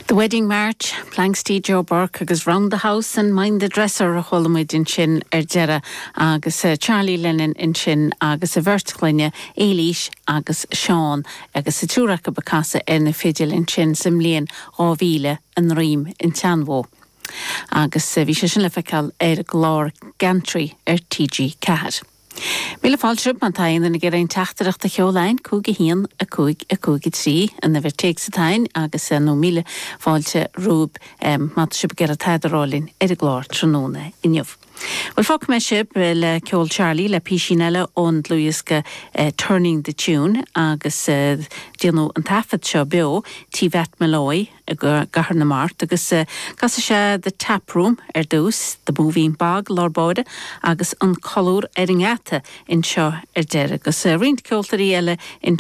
The Wedding March, Planxty Joe Burke agus Round the House and Mind the Dresser a chuala muid ansin ar deireadh agus Charlie Lennon ansin agus a bheirt chlainne, Éilís agus Seán agus an triúr acu ag casadh ar na fidil ansin sa mbliain 2000 i nDroim an tSeanbhó. Agus bhí sé sin le feiceáil ar an gclár Geantraí ar TG4. Míle fáilte romhaibh má tá aon duine ag iarraidh aon teachtaireacht a sheoladh a'ainn, 5 1 5 5 3 an uimhir téacs atá a'ainn agus nó míle fáilte romhaibh má tá sibh ag iarraidh tada a rá linn ar an gclár tráthnóna inniu. Bhuel fágfaidh mé sibh le ceol Charlie le písín eile ón dlúthdhiosca Turning the Tune agus déanadh an taifead seo beo Tí Mhatt Molloy i gCathair na Mart agus casfaidh sé The Tap Room ar dtús, The Moving Bog i lár báire agus An Colúr ar an nGeata anseo ar deireadh agus roinnt ceoltóirí eile.